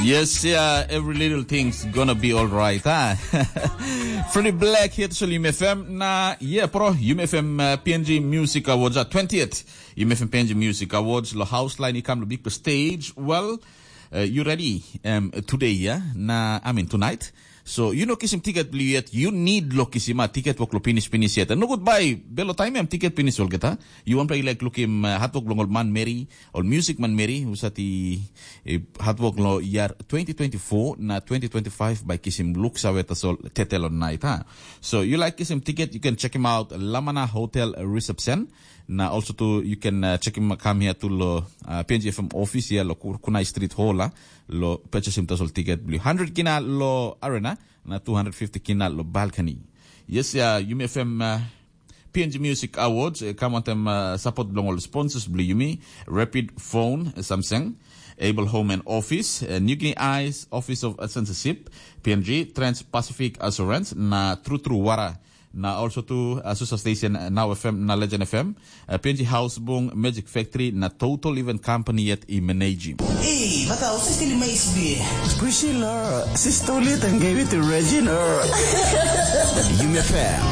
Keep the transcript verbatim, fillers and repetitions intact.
Yes, yeah, every little thing's gonna be all right, huh? Freddie Black hit sa Yumi F M na, yeah, pro, Yumi F M uh, P N G Music Awards at twentieth. Yumi F M P N G Music Awards, lo house line i kam lo big stage. Well, uh, you ready um, today, yeah? Na, I mean, tonight. So, you know, kisim ticket bli yet, you need lo kisim a ticket wok lo pinis pinis yet. No good bai, belo time em ticket pinis olgeta. You want play like lukim uh, hat wok long ol man Mary, ol music man Mary, usati eh, hat wok lo year twenty twenty-four na twenty twenty-five by kisim look sawe tasol tetel on night, ha. So you like kisim ticket, you can check him out Lamana Hotel Reception. Na also too you can uh, check him come here to lo uh, P N G F M office here lo Kunai Street Hall, ha, lo purchase him tasol ticket bli hundred kina lo arena na two hundred fifty kina lo balcony. Yes, yeah, Yumi F M uh, P N G Music Awards, uh, come on them uh, support belong all sponsors bli Yumi, Rapid Phone, uh, Samsung, Able Home and Office, uh, New Guinea Eyes, Office of Censorship, P N G, Trans Pacific Assurance, na True True Wara, na also to Asusa Station, uh, Now F M, na Legend F M, uh, P N G House Bung, Magic Factory, na Total Event Company yet i manage. Ei, bata, o se stili mai sbi. Priscilla, sister ulit and gave it to Regina. Yumi F M.